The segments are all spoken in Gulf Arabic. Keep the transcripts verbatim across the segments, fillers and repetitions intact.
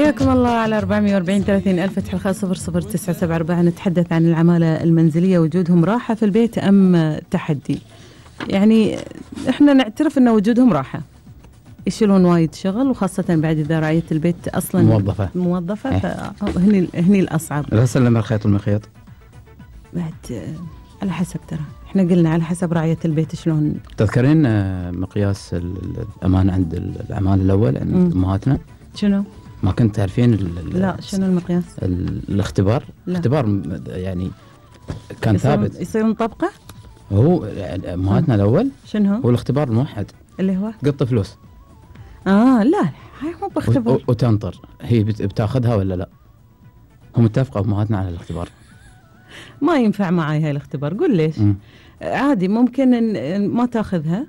حياكم الله على أربعمية وأربعين ثلاثين ألف فتح الخاص صفر صفر تسعة سبعة أربعة. نتحدث عن العمالة المنزلية، وجودهم راحة في البيت أم تحدي؟ يعني إحنا نعترف أن وجودهم راحة، يشيلون وايد شغل، وخاصة بعد إذا رعاية البيت أصلا موظفة موظفة إيه؟ فهني هني الأصعب. لا سلم الخيط والمخيط بعد على حسب، ترى إحنا قلنا على حسب رعاية البيت شلون. تذكرين مقياس الأمان عند العمال الأول عند أمهاتنا؟ شنو؟ ما كنت تعرفين؟ لا، شنو المقياس؟ الاختبار. لا. الاختبار يعني كان يصير ثابت، يصير مطبقة. هو يعني أمهاتنا الأول شنو هو؟ هو الاختبار الموحد اللي هو قط فلوس. اه لا، هاي مو باختبار. وتنطر هي بتاخذها ولا لا. هم متفقوا أمهاتنا على الاختبار. ما ينفع معي هاي الاختبار. قول ليش؟ م. عادي ممكن إن ما تاخذها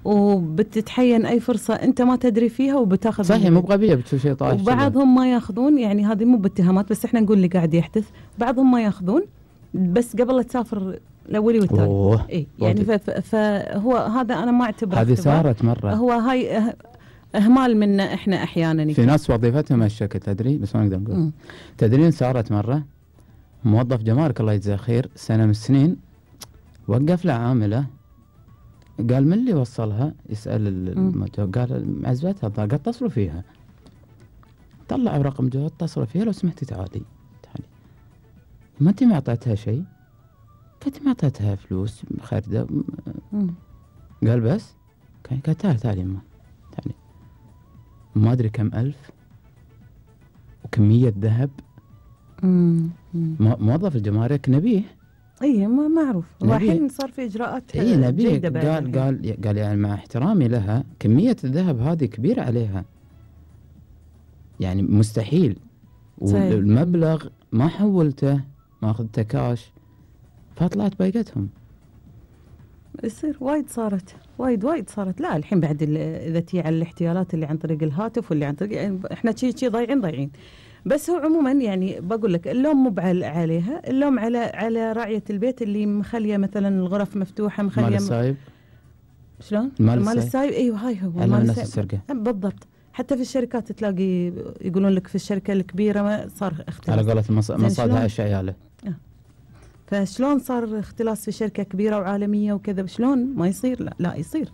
وبتتحين أي فرصة أنت ما تدري فيها وبتاخذ. صحيح، مو بغبية بتشوف شيء طايح. وبعضهم ما ياخذون، يعني هذه مو باتهامات، بس احنا نقول اللي قاعد يحدث. بعضهم ما ياخذون بس قبل لا تسافر الأولي والثاني. إيه يعني فهو هذا أنا ما أعتبره. هذه صارت مرة. هو هاي إهمال منا إحنا أحيانا. في ناس وظيفتهم هالشكل، تدري بس ما نقدر نقول. تدرين صارت مرة موظف جمارك الله يجزاه خير، سنة من السنين وقف له عاملة، قال من اللي وصلها؟ يسأل الموجود، قال معزبتها، قال اتصلوا فيها. طلع رقم جوال، اتصلوا فيها، لو سمحتي تعالي تعالي. ما انت ما اعطيتها شيء؟ قلت ما اعطيتها فلوس خارجة. قال بس؟ قال تعالي تعالي يما تعالي. ما ادري كم ألف وكمية ذهب. موظف الجمارك نبيه. اي ما معروف، الحين صار في اجراءات اي نبيه. قال قال قال يعني مع احترامي لها، كمية الذهب هذه كبيرة عليها، يعني مستحيل. والمبلغ ما حولته، ما اخذته كاش، فطلعت بايقتهم. يصير وايد صارت وايد وايد صارت. لا الحين بعد اذا تي على الاحتيالات اللي عن طريق الهاتف واللي عن طريق، يعني احنا شي شي ضايعين ضايعين. بس هو عموما يعني بقول لك اللوم مو عليها، اللوم على على راعية البيت اللي مخليه مثلا الغرف مفتوحة، مخليه مال السايب. شلون؟ مال السايب. ايوه هاي هو مال السايب بالضبط. حتى في الشركات تلاقي يقولون لك في الشركة الكبيرة ما صار اختلاس على قولة مصادها ايش عياله. آه. فشلون صار اختلاس في شركة كبيرة وعالمية وكذا؟ شلون ما يصير؟ لا لا يصير.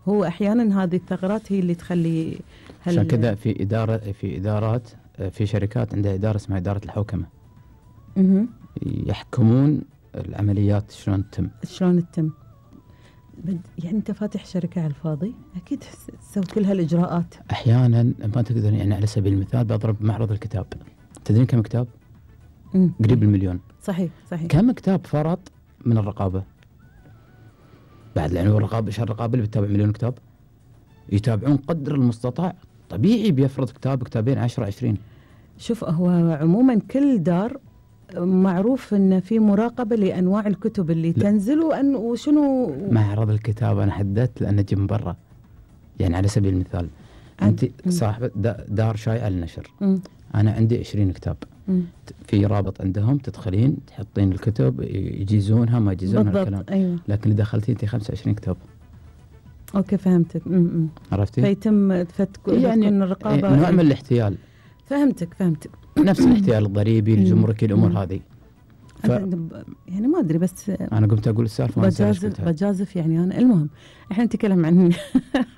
هو احيانا هذه الثغرات هي اللي تخلي هل... عشان كذا في إدارة في إدارات في شركات عندها إدارة اسمها إدارة الحوكمة. اها يحكمون العمليات شلون تتم. شلون تتم. يعني أنت فاتح شركة على الفاضي، أكيد تسوي كل هالإجراءات. أحيانا ما تقدر، يعني على سبيل المثال بضرب معرض الكتاب، تدرين كم كتاب؟ مم. قريب المليون. صحيح صحيح. كم كتاب فرط من الرقابة؟ بعد يعني الرقابة، إيش الرقابة اللي بتتابع مليون كتاب؟ يتابعون قدر المستطاع، طبيعي بيفرض كتاب كتابين عشرة عشرين. شوف هو عموما كل دار معروف ان في مراقبه لانواع الكتب اللي لا. تنزل وان وشنو معرض الكتاب. انا حددت لان اجي من برا، يعني على سبيل المثال انت صاحبه دار شايعه للنشر، انا عندي عشرين كتاب، م. في رابط عندهم تدخلين تحطين الكتب يجيزونها ما يجيزونها الكلام. أيوة. لكن اللي دخلتي انت خمسة وعشرين كتاب. اوكي فهمتك. م- م. عرفتي؟ فيتم فتك يعني الرقابه، نوع من الاحتيال. فهمتك فهمتك نفس الاحتيال الضريبي الجمركي الامور هذه. ف... يعني ما ادري، بس انا قمت اقول السالفه بجازف بجازف يعني انا. المهم احنا نتكلم عن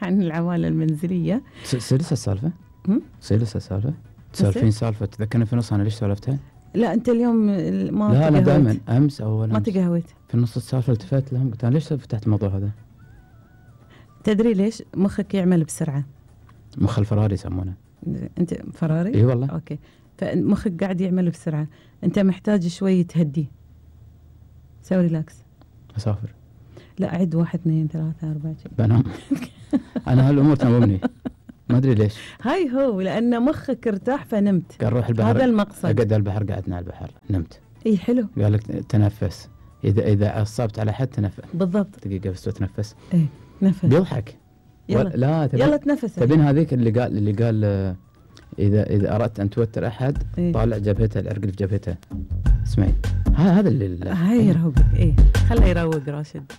عن العوائل المنزليه. سلسه السالفه سلسه السالفه تسولفين سالفه تذكرني في نص انا ليش سولفتها؟ لا انت اليوم ما لا انا دائما امس او ما تقهويت في نص السالفه التفت لهم قلت انا ليش فتحت الموضوع هذا؟ تدري ليش؟ مخك يعمل بسرعه. مخ الفراري يسمونه. انت فراري؟ اي والله. اوكي، فمخك قاعد يعمل بسرعه، انت محتاج شوي تهدي، سوي ريلاكس. اسافر. لا اعد واحد اثنين ثلاثه اربعه. بنام. انا هالامور تنومني ما ادري ليش. هاي هو لان مخك ارتاح فنمت. قال روح البحر، هذا المقصد. اقعد على البحر، قعدنا على البحر نمت. اي حلو. قال لك تنفس، اذا اذا عصبت على حد تنفس. بالضبط. دقيقه بس تنفس. اي نفس. بيضحك. يلا لا تبين. يلا تنفس. تبين هذيك اللي قال اللي قال اذا اذا اردت ان توتر احد إيه؟ طالع جبهته، العرق في جبهته. اسمعي هذا اللي هاي يروقك. ايه خليه يروق راشد.